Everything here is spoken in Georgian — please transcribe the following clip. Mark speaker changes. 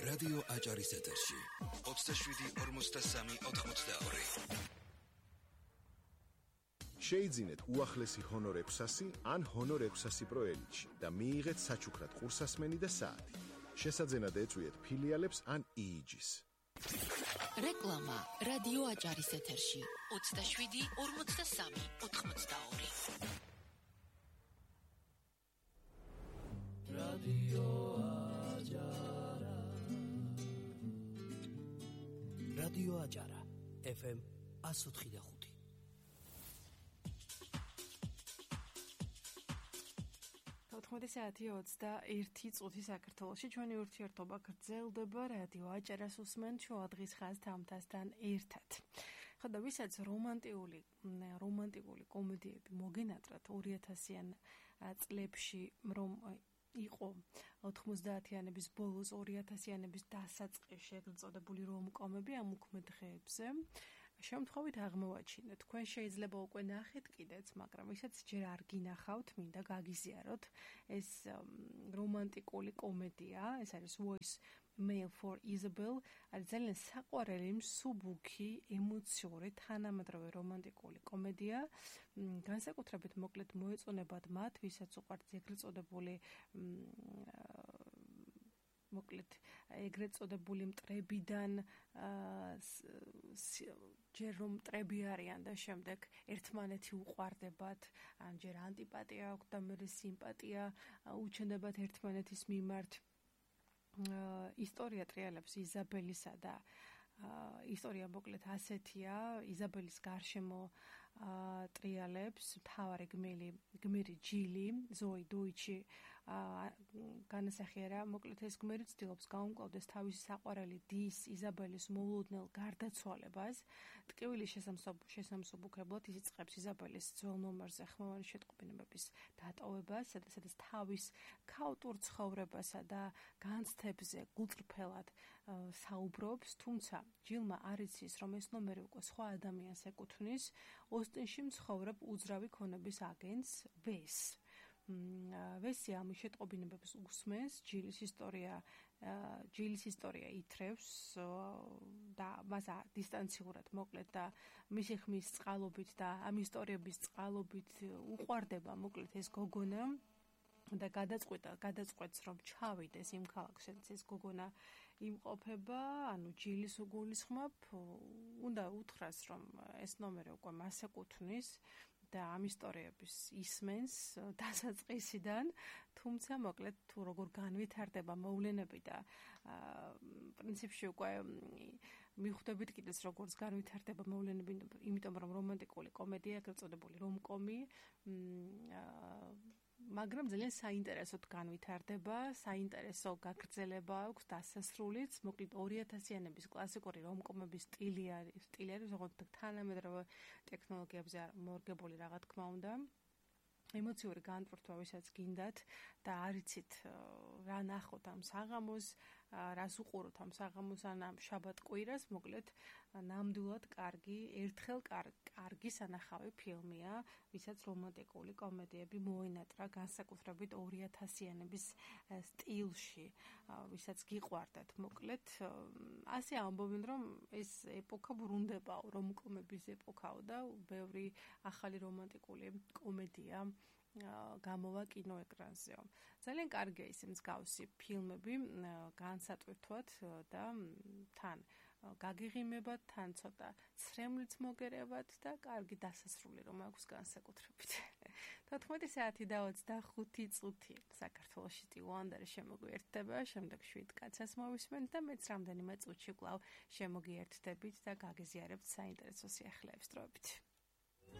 Speaker 1: რადიო აჭარის ეთერში 27-43-82.
Speaker 2: შეიძინეთ უახლესი ჰონორ 600 ან ჰონორ 600 Pro Elite-ში და მიიღეთ საჩუქრად ყურსასმენი და საათი. შესაძენად ეწვიეთ ფილიალებს ან EEG-ს.
Speaker 3: რეკლამა რადიო აჭარის ეთერში 27-43-82.
Speaker 4: რადიო აჭარა რადიო აჭარა FM 104.5
Speaker 5: 14 საათი 21 წუთი საქართველოში ჩვენი ურთიერთობა გრძელდება რადიო აჭარას უსმენთ შუა დღის ხაზთამთასთან ერთად. ხო და ვისაც რომანტიკული კომედიები მოგენატრათ 2000-იან წლებში რომ იყო 90-იანების ბოლოს 2000-იანების დასაწყისში ეგრეთ წოდებული რომკომები ამ უქმე დღეებზე შემთხვევით აღმოვაჩინეთ. თქვენ შეიძლება უკვე ნახეთ კიდეც, მაგრამ ვისაც ჯერ არ გინახავთ, მინდა გაგიზიაროთ ეს რომანტიკული კომედია, ეს არის Voice Mail for Isabel, არის ძალიან საყვარელი, მსუბუქი, ემოციური, თანამედროვე რომანტიკული კომედია. განსაკუთრებით მოკლედ მოეწონებათ მათ, ვისაც უყვართ ეგრეთ წოდებული მოკლედ ეგრეთ წოდებული მტრებიდან ჯერ რომ მტრები არიან და შემდეგ ერთმანეთი უყვარდებათ, ან ჯერ ანტიპატია აქვთ და მერე სიმპატია უჩნდებათ ერთმანეთის მიმართ. ისტორია ტრიალებს იზაბელისა და ისტორია მოკლედ ასეთია, იზაბელის გარშემო ტრიალებს მთავარი გმირი ჯილი, ზოი დუიჩი განასახიერა, მოკლედ ეს გმირი ცდილობს გაუმკლავდეს თავისი საყვარელი დის იზაბელის მოულოდნელ გარდაცვალებას. ტკივილი შესამსუბუქებლად ის იწყებს იზაბელის ძველ ნომერზე ხმოვანი შეტყობინებების დატოვებას, სადაც თავის ქაოტურ ცხოვრებასა და განცდებზე გულწრფელად საუბრობს, თუმცა ჯილმა არ იცის, რომ ეს ნომერი უკვე სხვა ადამიანს ეკუთვნის, ოსტინში მცხოვრებ უძრავი ქონების აგენტს ვესს. ვესი ამ შეტყობინებებს უსმენს, ჯილის ისტორია ითრევს და მას დისტანციურად მოკლედ და მისი ხმის წყალობით და ამ ისტორიების წყალობით უყვარდება მოკლედ ეს გოგონა და გადაწყვეტს რომ ჩავიდეს იმ ქალაქს, სადაც ეს გოგონა იმყოფება, ანუ ჯილის უგულისხმობ, უნდა უთხრას რომ ეს ნომერი უკვე მას ეკუთვნის და ამ ისტორიების ისმენს დასაწყისიდან, თუმცა მოკლედ თუ როგორ განვითარდება მოვლენები და პრინციპში უკვე მიხვდებით კიდეც როგორც განვითარდება მოვლენები, იმიტომ რომ რომანტიკული კომედია, ეგრეთ წოდებული რომკომი, მაგრამ ძალიან საინტერესოდ განვითარდება, საინტერესო გაგრძელება აქვს, დასასრულიც, მოკლედ 2000-იანების კლასიკური რომკომების სტილი არის, როგორც თანამედროვე ტექნოლოგიებზე მორგებული რა თქმა უნდა. ემოციური განტვირთვა, ვისაც გინდათ და არიცით რა ნახოთ ამ საღამოს, რას უყუროთ ამ საღამოს ან ამ შაბათ-კვირას, მოკლედ ნამდვილად ერთხელ კარგი სანახავი ფილმია, ვისაც რომანტიკული კომედიები მოენატრა განსაკუთრებით 2000-იანების სტილში, ვისაც გიყვარდათ, მოკლედ ასე ამბობენ, რომ ეს ეპოქა ბრუნდებაო, რომკომების ეპოქაო და ბევრი ახალი რომანტიკული კომედია გამოვა კინოეკრანზეო. ძალიან კარგია ის მსგავსი ფილმები განსატვირთვათ და თან გაგიღიმებათ, თან ცოტა ცრემლიც მოგერევათ და კარგი დასასრული რომ აქვს განსაკუთრებით. 14 საათი და 25 წუთი საქართველოში ტივანდერი შემოგვიერთდება, შემდეგ 7 კაცას მოვისმენთ და მეც რამდენიმე წუთში კვლავ შემოგიერთდებით და გაგიზიარებთ საინტერესო სიახლეებს დროებით.